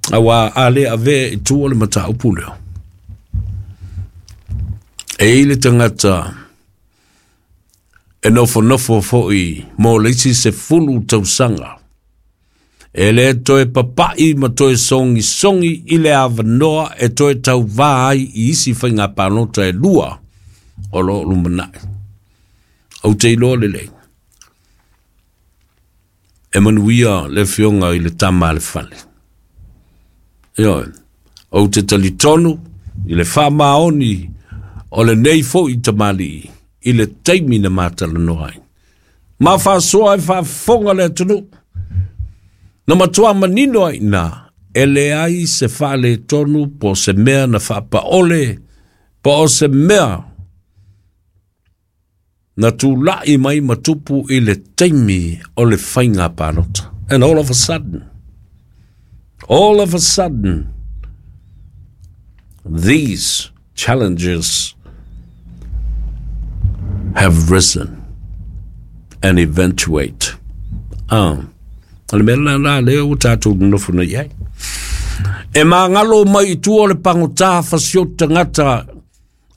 Auā a le avea i tua le mataupu lea, e i ai le tagata e nofonofo foi mo le isi 10 tausaga, e le toe papa'i ma toe sogisogi i le avanoa e toe tauvā ai i isi faiga palota e lua o lo o lumanai. Ou te iloa lelei, e manuia le afioga i le tama a le fale. Ioe, ou te talitonu i le faamaoni o lenei foi tamalii i le taimi na matalanoa ai. Ma faasoa e faafofoga le atunuu. Na matua manino ai i ina, e leai se faaletonu po o se mea na faapaole po o se mea na tulai mai ma tupu i le taimi o le faiga palota. And all of a sudden, all of a sudden, these challenges have risen and eventuate. Ah, o le mea la la lea ua tatou nonofo nei ai. E magalo mai i tua o le pagotā fasioti tagata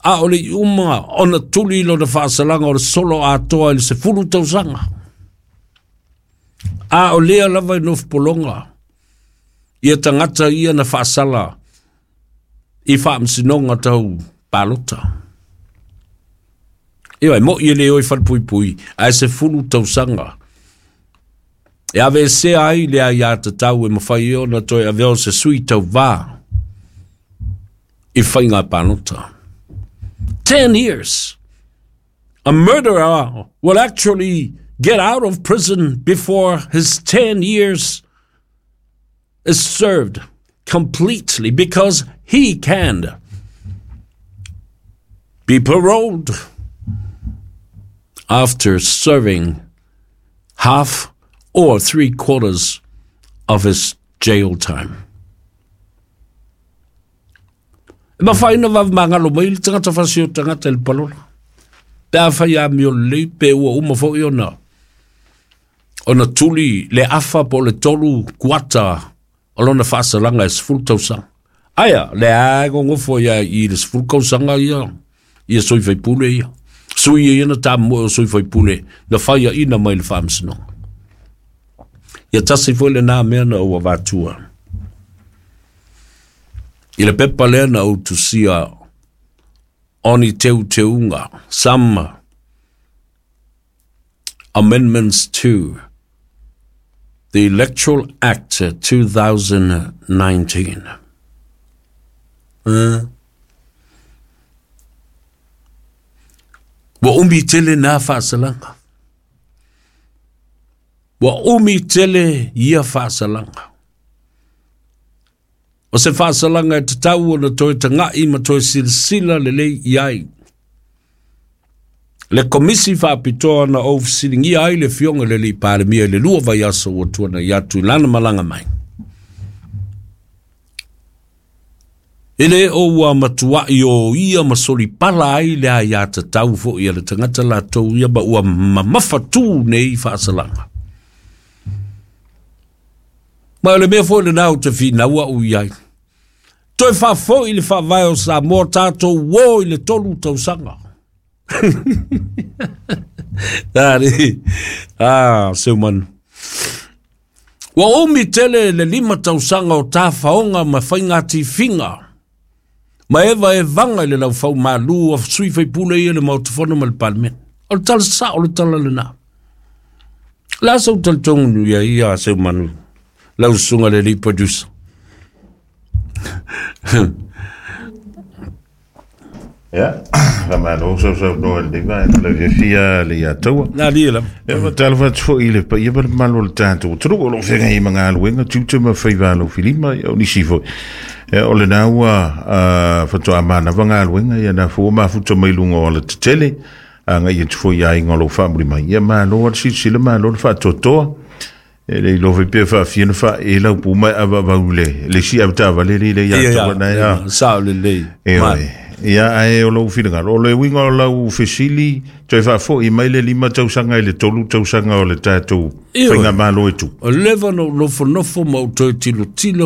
a o le i uma ona tuli lona faasalaga o le solo atoa i le 10 tausaga. A o lea lava e nofopologa ia tagata ia na faasala i faamasinoga tau palota. Ioe, mo'i e le o i falepuipui, ae 10 tausaga. E aveesea ai le aiatatau e mafai ai ona toe avea o se sui tauvā i faiga palota. 10 years. A murderer will actually get out of prison before his 10 years is served completely, because he can be paroled after serving half or 3/4 of his jail time. E mafai ona vave magalo mai le tagata fasi o tagata i le palola. Pe afai amio lelei, pe ua uma foi ona tuli le afa po o le 3 kuata o lona faasalaga e 10 tausaga. Aia, le a gogofo ia i le 10 tausaga ia, ia sui faipule ia. Sui ia na tamoe o sui faipule, na whaia ina mai le faamasinoga. Ia tasi foi lena mea na ou avatua. I le pepa lea na ou tusia o ni teuteuga, some amendments to the Electoral Act 2019. Ua umi tele nā faasalaga. Ua umi tele ia faasalaga. O se faasalaga e tatau ona toe taga'i ma toe silasila lelei i ai. Le komisi faapitoa na ou fesiligia ai le afioga i le alii Palemia i le 2 vaiaso ua tuanai atu i lana malaga mai. E le o ua matuai o ia ma solipala ai le aiatatau foi a le tagata latou ia ma ua mamafa tu nei faasalaga. Ma o le mea foi lena ou te finaua au i ai. Toe faafoi le faavae o Samoa tatou o i le 3 tausaga. Tari, ah, seu manu. Ua umi tele le 5 tausaga o tafaoga ma faiga tifiga. Ma eva e vaga i le laufau malu o sui faipule ia le Maota Fono ma le Palemene. O le tala sao le tala lena. La sau talitonu ia ia seu manu. Lau susuga le alii producer. Ia, faamalo sausaunoa i lenei vaega lau fiafia le ia taua. Nā lia lava. Ia, faatalofa atu foi i le paia ma le mamalu o le tatou atunuu o lo o feagai ai ma galuega, tiute ma faiva alofilima, ia o nisi foi. Ia, o lena ua faatoa manava galuega, ia na foi ua mafuta mai luga o alatetele, agai atu foi i aiga o lo o faamuli mai. Ia, malo lava le silasila, malo le faatoatoa. E le iloa foi pe faafia na faaee lau pu mai avaavau i le isi avetaavale le le ia taua na ia. Sao lelei. E oe. Ia, ae o lou finagalo, o le uiga o lau fesili, toe faafoi mai le 5 tausaga i le 3 tausaga o le tatou faigamalo e tu. O leva na ou nofonofo ma ou toe tilotilo.